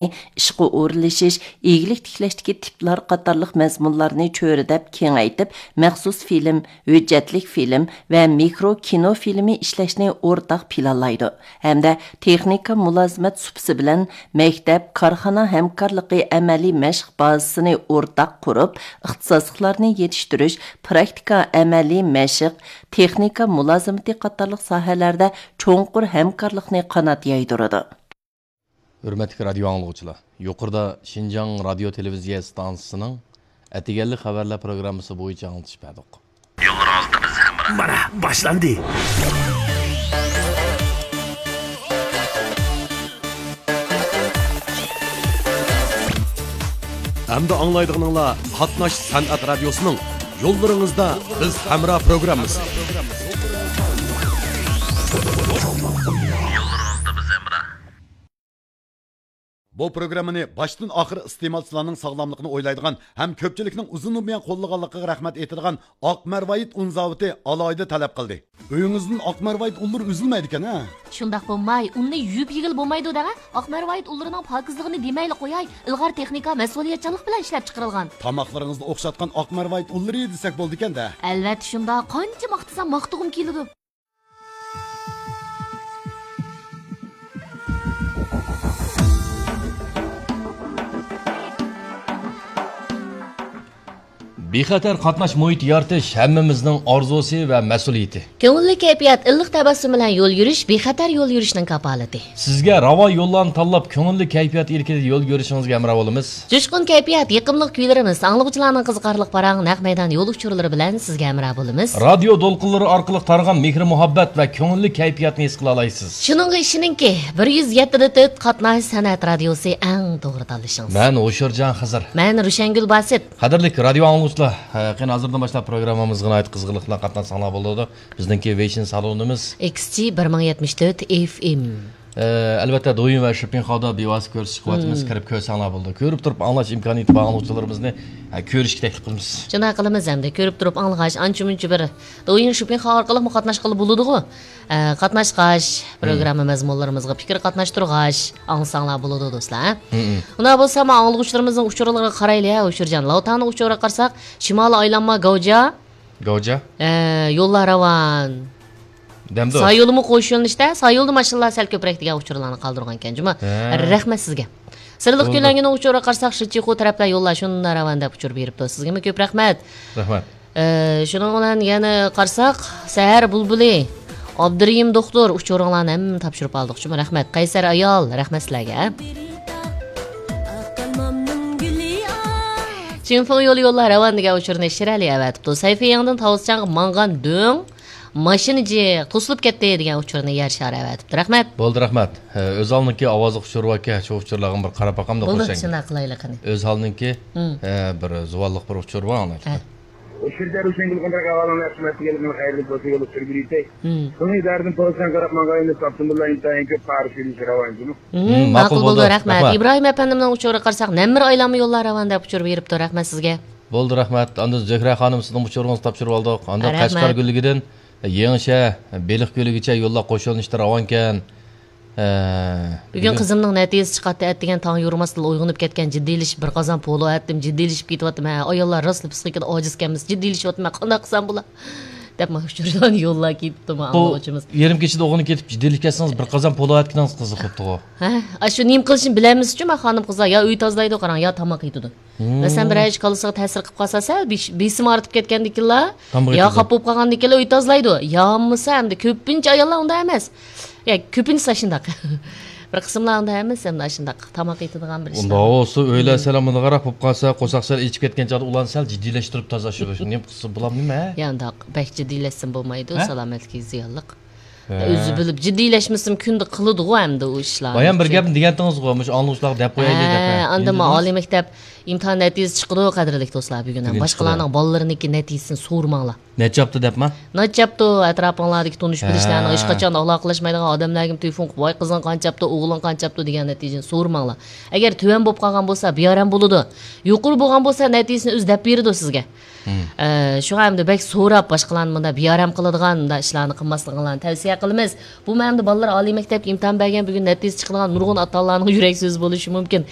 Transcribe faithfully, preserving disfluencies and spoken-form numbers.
ئىشقا ئورۇنلىشىش، ئىگىلىك تىكلەشتىكى تىپلار قاتارلىق مەزمۇنلارنى چۆرىدەپ كېڭەيتىپ، مەخسۇس فىلىم، ھۆججەتلىك فىلىم ۋە مىكرو كىنو فىلىمى ئىشلەشنى ئورتاق پىلانلايدۇ ھەمدە تېخنىكا مۇلازىمەت سۇپىسى بىلەن مەكتەپ، كارخانا ھەمكارلىقى ئەمەلىي مەشىق بازىسىنى ئورتاق قۇرۇپ، ئىختىساسلىقلارنى يېتىشتۈرۈش، پراكتىكا، ئەمەلىي مەشىق، تېخنىكا مۇلازىمىتى قاتارلىق ساھەلەردە چوڭقۇر ھەمكارلىقنى قانات يايدۇرىدۇ. ھۆرمەتلىك رادىيو ئاڭلىغۇچىلار، يۇقىرىدا شىنجاڭ رادىيو تېلېۋىزىيە ئىستانسىسىنىڭ ئەتىگەنلىك خەۋەرلەر پروگراممىسى بويىچە ئاڭلىتىش بەردۇق. يوللىرىڭىزدا بىز ھەمراھ. مانا، باشلاندى. ئەمدى ئاڭلايدىغىنىڭلار قاتناش سەنئەت رادىيوسىنىڭ يوللىرىڭىزدا بىز ھەمراھ پروگراممىسى. يوللىرىڭىزدا بىز ھەمراھ. بۇ پروگراممىنى باشتىن ئاخىر ئىستېمالچىلارنىڭ ساغلاملىقىنى ئويلايدىغان ھەم كۆپچىلىكنىڭ ئۇزۇندىن بۇيان قوللىغانلىقىغا رەھمەت ئېيتىدىغان ئاق مەرۋايىت ئۇن زاۋۇتى ئالاھىدە تەلەپ قىلدى. ئۆيىڭىزدىن ئاق مەرۋايىت ئۇنلىرى ئۈزۈلمەيدىكەن ھە؟ شۇنداق بولماي، ئۇننى يۇيۇپ يېگىلى بولمايدۇ دەڭە. ئاق مەرۋايىت ئۇنلىرىنىڭ پاكىزلىقىنى دېمەيلا قوياي، ئىلغار تېخنىكا، مەسئۇلىيەتچانلىق بىلەن ئىشلەپ چىقىرىلغان. تاماقلىرىڭىزدا ئوخشاتقان ئاق مەرۋايىت ئۇنلىرى دېسەك بولىدىكەن-دە. ئەلۋەتتە شۇنداق، قانچە ماختىسام ماختىغۇم كېلىدۇ. بىخەتەر قاتناش مۇھىتى يارىتىش ھەممىمىزنىڭ ئارزۇسى ۋە مەسئۇلىيىتى. كۆڭۈللۈك كەيپىيات، ئىللىق تەبەسسۇم بىلەن يول يۈرۈش، بىخەتەر يول يۈرۈشنىڭ كاپالىتى. سىزگە راۋان يوللارنى تاللاپ، كۆڭۈللۈك كەيپىيات ئىلكىدە يول يۈرۈشىڭىزگە ھەمراھ بولىمىز. جۇشقۇن كەيپىيات، يېقىملىق كۈيلىرىمىز، ئاڭلىغۇچىلارنىڭ قىزىقارلىق پاراڭ، نەق مەيدان يول ئۇچۇرلىرى بىلەن سىزگە ھەمراھ بولىمىز. رادىيو دولقۇنلىرى ئارقىلىق تارىغان مېھرى-مۇھەببەت ۋە كۆڭۈللۈك كەيپىياتنى ھېس قىلالايسىز. شۇنىڭغا ئىشىنىڭكى، بىر يۈز يەتتە دە تۆت قاتناش سەنئەت رادىيوسى ئەڭ توغرا تاللىشىڭىز. مەن ھوشۇرجان خىزىر. مەن روشەنگۈل باسىت. قەدىرلىك رادىيو ئاڭلىغۇچىلار، ھە، قېنى ھازىردىن باشلاپ پروگراممىمىزغا ناھايىتى قىزغىنلىق بىلەن قاتناشساڭلار بولىدۇ. بىزنىڭكى ۋېيشىن سالونىمىز. ئېكس جى بىر مىڭ يەتمىش تۆت ئېف ئېم. ئە، ئەلۋەتتە، دويىن ۋە شىپىڭخاۋدا بىۋاسىتە كۆرسىتىش قىلىۋاتىمىز. مم. كىرىپ كۆرسەڭلار بولىدۇ. كۆرۈپ تۇرۇپ ئاڭلاش ئىمكانىيىتى بار ئاڭلىغۇچىلىرىمىزنى، ئە، كۆرۈشكە تەكلىپ قىلىمىز. شۇنداق قىلىمىز ئەمدى. كۆرۈپ تۇرۇپ ئاڭلىغاچ، ئانچە-مۇنچە بىر دويىن شىپىڭخاۋ ئارقىلىقمۇ قاتناشقىلى بولىدىغۇ. ئە، قاتناشقاچ، مم. پروگرامما مەزمۇنلىرىمىزغا پىكىر قاتناشتۇرغاچ، ئاڭلىساڭلار بولىدۇ، دوستلار. مم. ئۇنداق بولسا، مانا ئاڭلىغۇچىلىرىمىزنىڭ ئۇچۇرلىرىغا قارايلى، ھە، ھوشۇرجان. لاۋتاڭنىڭ ئۇچۇرىغا قارىساق، شىمالىي ئايلانما گاۋجا، گاۋجا. ئە، يوللار راۋان. دەمدۇ. سايولىمۇ قوش يۆنىلىشتە، سايولدا ماشىنىلار سەل كۆپرەك دېگەن ئۇچۇرلارنى قالدۇرغانكەن جۇمۇ. ھە. رەھمەت سىزگە. سىرلىق بولدى. كۆلەڭگىنىڭ ئۇچۇرىغا قارىساق، شىچىخۇ تەرەپلەر يوللار شۇنداق راۋان دەپ ئۇچۇر بېرىپتۇ. سىزگىمۇ كۆپ رەھمەت. رەھمەت. ئە، شۇنىڭ بىلەن يەنە قارىساق، سەھەر بۇلبۇلى، ئابدۇرېھىم دوختۇر، ئۇچۇرۇڭلارنى ھەممىنى تاپشۇرۇپ ئالدۇق جۇمۇ. رەھمەت. قەيسەر ئايال، رەھمەت سىلەرگە. چىڭفېڭ يولى يوللار راۋان دېگەن ئۇچۇرنى شىرئەلى ئەۋەتىپتۇ. سەيفى يېڭىدىن تاۋۇزچاڭغا ماڭغان دۆڭ ماشىنا جىق توسۇلۇپ كەتتى دېگەن ئۇچۇرنى يەر شارى ئەۋەتىپتۇ. رەھمەت. بولدى، رەھمەت. ھە، ئۆزھالنىڭكى ئاۋازلىق ئۇچۇر باركەن، شۇ ئۇچۇرلارغا بىر قاراپ باقامدۇ، بولدى، خوشەڭگۈل. شۇنداق قىلايلى قېنى. ئۆزھالنىڭكى، ھە، بىر زۇۋانلىق بىر ئۇچۇر بار، ئاڭلايلى. ئۇچۇردە روشەنگۈل قانداق ئەھۋالىڭلار، خىزمەتتە كەلگىنىڭ خەيرلىك بولسۇن، يوللۇق سۈرگۈلىيتەي. شۇڭا ئىدارىدىن پوزىتسىيەڭ قاراپ ماڭغان ئىنىس ئابدۇمۇللا ئىنتايىن كۆپ پارا سۈيلىشى راۋان جۇمۇ. ماقۇل بولدى، رەھمەت. ئىبراھىم ئەپەندىمنىڭ ئۇچۇرىغا قارىساق، نەممىر ئايلانما يوللار راۋان دەپ ئۇچۇر بېرىپتۇ، رەھمەت سىزگە. بولدى، رەھمەت. ئاندىن زۆھرە خانىم، سىزنىڭ ئۇچۇرىڭىزنى تاپشۇرۇۋالدۇق. ئاندىن رەھمەت. قەشقەر گۈللۈكىدىن يېڭىشەھەر، بېلىق كۆلىگىچە يوللار قوش يۆنىلىشتە راۋانكەن. ھە، بۈگۈن بۈگۈن قىزىمنىڭ نەتىجىسى چىقاتتى، ئەتىگەن تاڭ يورۇماستىنلا ئويغىنىپ كەتكەن، جىددىيلىشىپ بىر قازان پولۇ ئەتتىم، جىددىيلىشىپ كېتىۋاتىمەن. ھە، ئاياللار راستلا پسىخىكىدا ئاجىزكەنمىز، جىددىيلىشىۋاتىمەن، قانداق قىلسام بولا؟ دەپ مانا شۇ جەريان يوللار كېتىپتۇ، مانا بۇ ئاڭلىغۇچىمىز. يېرىم كېچىدە ئوغلىنى كېتىپ جىددىيلىشىپ كەتسىڭىز، بىر قازان پولۇ ئەتكىنىڭىز قىزىق بوپتىغۇ. ھە، ئاشۇ نېمە قىلىشنى بىلەلمىسىچۇ، مانا خانىم قىزلار يا ئۆي تازىلايدۇ، قاراڭ، يا تاماق يېتىدۇ. مەسىلەن، بىرەر ئىش كاللىسىغا تەسىر قىلىپ قالسا، سەل بېش-، بېسىم ئارتىپ كەتكەندىكىنلا، تاماق يا يېتىدۇ. خاپا بولۇپ قالغاندىكىنلا ئۆي تازىلايدۇ. يا بولمىسا ئەمدى كۆپىنچە ئاياللار ئۇنداق ئەمەس. يا، كۆپىنچىسى ئاشۇنداق. بىر قىسىملار ئۇنداق ئەمەس، ئەمدى ئاشۇنداق تاماق يېتىدىغان بىر ئىشلار. ئۇنداق بولسا ئۆيلەر سەل مۇنداقراق بولۇپ قالسا، قورساق سەل ئېچىپ كەتكەن چاغدا ئۇلارنى سەل جىددىيلەشتۈرۈپ تازىلاش، نېمە قىلسا بولامدۇ نېمە؟ يا، ئۇنداق بەك جىددىيلەشسىمۇ بولمايدۇ، ھە؟ سالامەتلىكىگە زىيانلىق. ھە. ئۆزى بىلىپ جىددىيلەشمىسىمۇ كۈندە قىلىدىغۇ ئەمدى ئۇ ئىشلارنى. بايام بىر گەپنى دېگەنتىڭىزغۇ، مۇشۇ ئاڭلىغۇچىلارغا دەپ قويايلى دەپ، ھە، ھە. ئاندىن مانا ئالىي مەكتەپ ئىمتىھان نەتىجىسى چىقىدۇ، قەدىرلىك دوستلار، بۈگۈن بۈگۈن باشقىلارنىڭ بالىلىرىنىڭكى نەتىجىسىنى سورىماڭلار. نەچچە ھەپتە دەپما؟ نەچچە ھەپتە ئەتراپىڭلاردىكى تونۇش بىلىشلەرنىڭ ھە. ھېچقاچان ئالاقىلەشمەيدىغان ئادەملەرگىمۇ تېلېفون قىلىپ، ۋاي، قىزىڭ قانچە ئاپتۇ، ئوغلۇڭ قانچە ئاپتۇ دېگەن نەتىجىنى سورىماڭلار. ئەگەر تۆۋەن بولۇپ قالغان بولسا، بىئارام بولىدۇ. يۇقىرى بولغان بولسا، نەتىجىسىنى ئۆزى دەپ بېرىدۇ سىزگە. مم. ئە، شۇڭا ئەمدى بەك سوراپ، باشقىلارنى مۇنداق بىئارام قىلىدىغان مۇنداق ئىشلارنى قىلماسلىقىڭلارنى تەۋسىيە قىلىمىز. بۇ مەنىدە بالىلار ئالىي مەكتەپكە ئىمتىھان بەرگەن، بۈگۈن نەتىجىسى چىقىدىغان نۇرغۇن ئاتا-ئانىلارنىڭ يۈرەك سۆزى بولۇشى مۇمكىن.